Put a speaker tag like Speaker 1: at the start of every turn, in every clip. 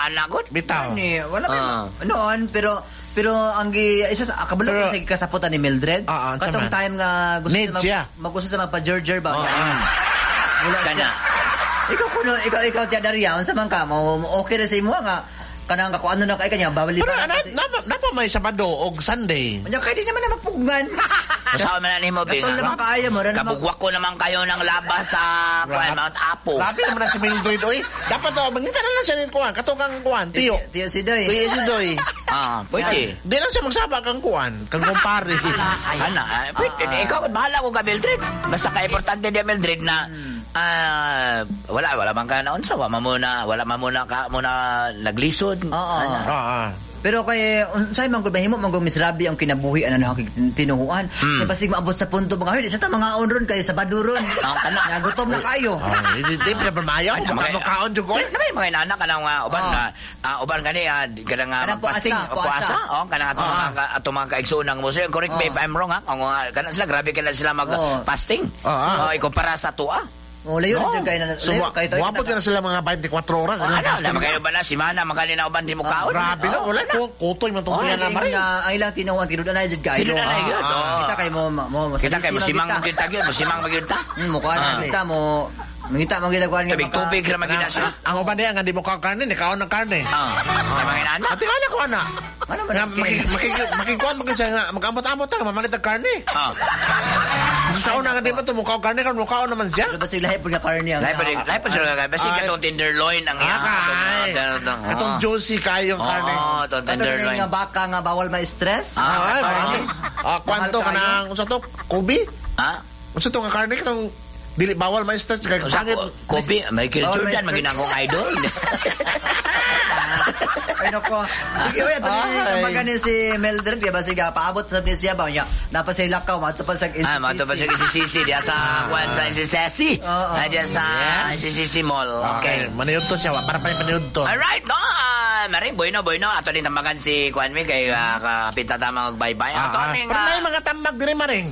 Speaker 1: anak ko.
Speaker 2: Bitaw.
Speaker 3: Ni, wala may
Speaker 1: Ah.
Speaker 3: noon, pero pero ang gi isa sa kabalo ko
Speaker 2: Pero-
Speaker 3: sa kasaputan ni Mildred.
Speaker 2: Ah, unsa
Speaker 3: Katong
Speaker 2: man?
Speaker 3: time nga gusto
Speaker 2: Need
Speaker 3: siya
Speaker 2: siya.
Speaker 3: Mag, gusto siya magpa-jerjer ba? Wala
Speaker 1: Kana.
Speaker 3: siya. Ikaw kuno, ikaw tiya Daria, unsa man ka mo, okay ra sa imo nga kanang kako ano na kay kanya bawali
Speaker 2: Pero
Speaker 3: pa
Speaker 2: ana, napa may Sabado og Sunday.
Speaker 3: Nya kay di naman na magpugman.
Speaker 1: Usawa man na nimo, Bing.
Speaker 3: Katol naman kaayo mo, ra naman.
Speaker 1: Kabugwak ko naman kayo ng labas sa kuan, Mount Apo.
Speaker 2: Grabe naman na si Mildred, oy. Dapat oh, mangita na lang siya ni kuan, katong kang kuan, tiyo.
Speaker 3: Tiyo si Doy.
Speaker 2: Tiyo si Doy.
Speaker 1: Ah, pwede.
Speaker 2: Di lang siya magsaba kang kuan, kang kumpare.
Speaker 1: Ana, pwede. Ikaw, bahala ko ka, Mildred. Basta ka importante di Mildred na wala wala man ka naunsa, wala man muna ka muna naglisod.
Speaker 3: Oo.
Speaker 1: Ana.
Speaker 3: Pero kay unsay man gud mahimo man gud miserable ang kinabuhi ano na tinuhuan. Kay basig maabot sa punto mga herd, sa ta mga onron kay sa baduron.
Speaker 1: Ang kana.
Speaker 3: Nga gutom na kayo.
Speaker 2: Ah, di di pa mayo,
Speaker 1: Ay,
Speaker 2: baka makaon jud ko.
Speaker 1: Ay, naman mga inana kanang uban
Speaker 3: Oo.
Speaker 1: nga uban gani kanang
Speaker 3: Kanang
Speaker 1: magfasting
Speaker 3: puasa, puasa.
Speaker 1: puasa oh kanang atong mga atong mga kaigsoon ng Muslim, correct me if I'm wrong ha, kung kanang sila grabe kanang sila mag fasting.
Speaker 2: Oo.
Speaker 1: Oh, ikumpara sa tuwa.
Speaker 3: Oh, layo
Speaker 1: No.
Speaker 3: na jud kayo na.
Speaker 2: So,
Speaker 3: Layo kayo to.
Speaker 2: wapot ka na sila mga 24 oras.
Speaker 1: Oh,
Speaker 2: Ano,
Speaker 1: ano, na kayo ba na simana makali na uban di mo kaon.
Speaker 2: Grabe na, wala. Kutoy man itong
Speaker 1: Oh,
Speaker 2: na
Speaker 3: Ang
Speaker 2: marin.
Speaker 3: ang ilang tinuhuan tinud-anay jud kayo.
Speaker 1: Tinud-anay gyud, oo.
Speaker 3: Kita kay mo mo
Speaker 1: Kita kay mo simang magyud ta gyud, mo simang magyud ta.
Speaker 3: Mukha na kita mo. Mangita mo gid kuan nga
Speaker 1: Tubig tubig ra magyud na siya.
Speaker 2: Ang uban niya, nga di mo kaon karne, ni kaon ng karne.
Speaker 1: Kay mga inana.
Speaker 2: Ate ka ko ana.
Speaker 3: Ano man
Speaker 2: Nga,
Speaker 3: ang
Speaker 2: makikuan magin siya nga, mag-amot-amot ta, mamalit ang karne. Sa una nga di ba ito, mukha karne, kan mukha naman siya.
Speaker 3: Pero basig lahi pud nga karne ang
Speaker 1: Lahi pa lahi pa sila kay basi
Speaker 2: Ay.
Speaker 1: katong tenderloin ang iya.
Speaker 2: Ah, kay. Katong juicy kayong karne.
Speaker 1: Oo, atong
Speaker 3: Katong
Speaker 1: tenderloin.
Speaker 3: nga baka nga bawal ma-stress.
Speaker 1: Ah,
Speaker 2: Ay,
Speaker 1: karne.
Speaker 2: kwanto
Speaker 3: Mahal
Speaker 2: ka
Speaker 3: kayo.
Speaker 2: ng, unsa to, Kobe?
Speaker 1: Ha?
Speaker 2: Unsa to nga karne, katong dili bawal ma-stress, kay
Speaker 1: Unsa
Speaker 2: pangit.
Speaker 1: Kobe, Michael
Speaker 3: Bawal
Speaker 1: Jordan
Speaker 3: ma-stress.
Speaker 1: maging akong idol.
Speaker 3: Ay nako. Sige, oy, ato ni
Speaker 2: Ay.
Speaker 3: tambagan ni si Mildred kay basig paabot sa ni siya ba niya. Napa sa lakaw mato pa sa NCCC.
Speaker 1: Mato pa sa SCCC diya sa kuan sa SCCC.
Speaker 3: Oo.
Speaker 1: Diya sa SCCC Mall. Okay.
Speaker 2: Maniud to siya, wa, para pa maniud to.
Speaker 1: Alright, no. Maring bueno bueno ato din tambagan si kuan mi kay kapita ta mag bye-bye. Ato ning
Speaker 2: Pero na mga tambag diri maring.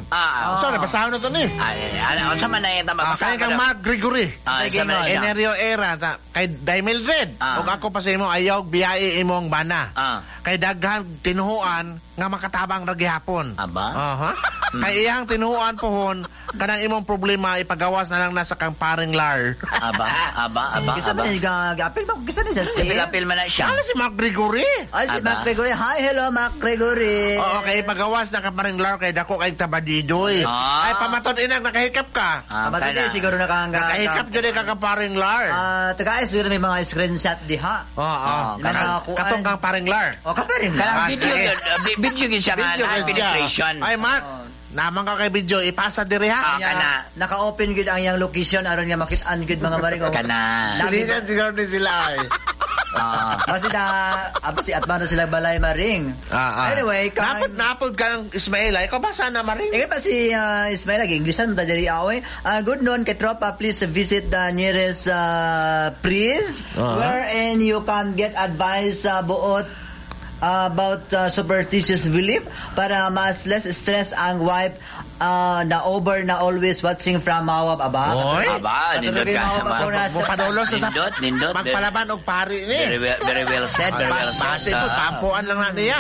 Speaker 2: Sorry, basahon na to ni.
Speaker 1: Ay, ano unsa man na yung tambag?
Speaker 2: Kaya kang Mark Gregory.
Speaker 1: Unsa man na siya?
Speaker 2: Enerio era ta kay Day Mildred. Ug ako pa sa imo ayaw biyae imong bana. Kay daghan tinuhuan nga makatabang ra gihapon.
Speaker 1: Aba?
Speaker 2: Aha. Kay iyang tinuhuan pohon kanang imong problema ipagawas na lang nasa kang paring lar.
Speaker 1: Aba, aba, aba,
Speaker 3: Kisa
Speaker 1: aba.
Speaker 3: man niya gaapil ba kisa ni siya si?
Speaker 1: Apil-apil man na siya.
Speaker 2: Ano si Mark Gregory?
Speaker 3: Ay si
Speaker 1: Aba.
Speaker 3: Mark Gregory. Hi, hello Mark Gregory.
Speaker 2: Oo, kay ipagawas na ka paring lar kay dako kay tabadidoy. Ay pamaton inag nakahikap ka.
Speaker 3: Pamaton
Speaker 1: kana.
Speaker 3: eh, siguro nakahangga.
Speaker 2: Nakahikap jud ka ka paring lar.
Speaker 3: Taga siguro may mga screenshot diha.
Speaker 2: Oo.
Speaker 1: Ah,
Speaker 3: May mga kuan.
Speaker 2: Katong kang paring lar.
Speaker 3: O kaparing
Speaker 1: Kanang video
Speaker 2: sige.
Speaker 1: yun, video yun siya nga
Speaker 2: Video
Speaker 1: na
Speaker 2: gyud siya.
Speaker 1: penetration.
Speaker 2: Ay Mark, naman ka kay video ipasa diri ha.
Speaker 1: Kana.
Speaker 3: Naka-open gud ang iyang location aron nga makit-an gud mga maring.
Speaker 1: Kana.
Speaker 2: Silinan siguro ni sila ay.
Speaker 3: Kasi na, apa si Atman na sila balay maring. Anyway, kang,
Speaker 2: Napod napod ka ng Ismael ay. Ikaw ba sana maring?
Speaker 3: Ikaw pa si Ismail lagi Inglesan ta diri away. Good noon kay tropa, please visit the nearest priest wherein you can get advice buot about superstitious belief para mas less stress ang wife na over na always watching from Mawab aba.
Speaker 2: Oy.
Speaker 1: Aba, nindot
Speaker 3: Katuloy
Speaker 1: ka.
Speaker 3: Mawab ako na sa
Speaker 2: Mupadolo sa
Speaker 1: Nindot, nindot.
Speaker 2: Magpalaban og pari ni.
Speaker 1: Very well, very well said, very well said.
Speaker 2: Base po, pampuan lang na niya.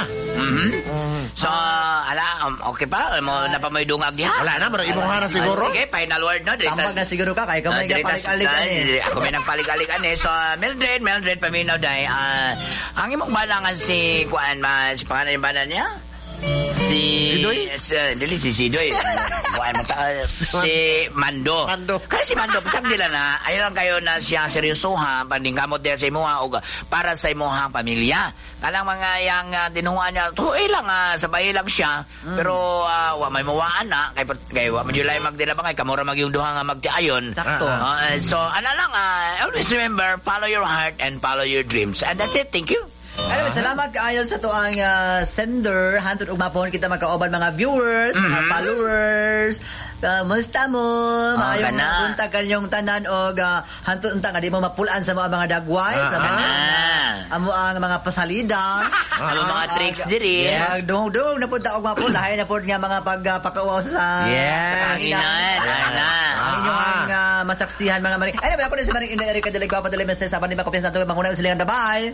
Speaker 1: So, ala, okay pa? Mo na pa may dungag diha?
Speaker 2: Wala na, mura imong hana siguro.
Speaker 1: Sige, final word no. Dirita-
Speaker 3: Tambag na siguro ka kay kamay ka
Speaker 1: Dirita-
Speaker 3: palik-alikan eh.
Speaker 1: Ako may nagpalig-alikan eh. So, Mildred, Mildred, paminaw day. Ang imong balangan si Kuan, ma, si pangalan yung bana niya? Si
Speaker 2: Sidoy?
Speaker 1: Si, dili si Sidoy. Kuan mo ta, si Mando.
Speaker 2: Mando.
Speaker 1: Kasi si Mando pasag nila na ayaw lang kayo na siya seryosoha paningkamot diya sa imuha og para sa imuhang pamilya. Kanang mga yang tinuha niya, tuoy lang sabay lang siya, pero wa may muwaan na kay kay wa man July magdilabang kay kamura magyung duha nga magtiayon.
Speaker 3: Sakto.
Speaker 1: So ana lang always remember, follow your heart and follow your dreams. And that's it. Thank you.
Speaker 3: Anyway, salamat kaayo sa tuang sender. Hantod ug mapahon kita magkaoban mga viewers, mga followers. Kamusta mo? Maayong
Speaker 1: kana.
Speaker 3: buntag kanyong tanan og hantod unta nga di mo mapulaan sa mga dagway, sa mga amo ang mga pasalida.
Speaker 1: Ano mga tricks diri?
Speaker 3: Yes. Dungog-dungog na pud ta og mapulahay na pud nga mga pagpakauaw sa sa kahanginan.
Speaker 1: Kahanginan, ana.
Speaker 3: Ang inyong ang masaksihan mga maring. Anyway, ako na si Maring Inday Erika Deligua, Padali Meste, sa Panima Kopya sa Tuwe, Mangunang Silingan. Bye-bye!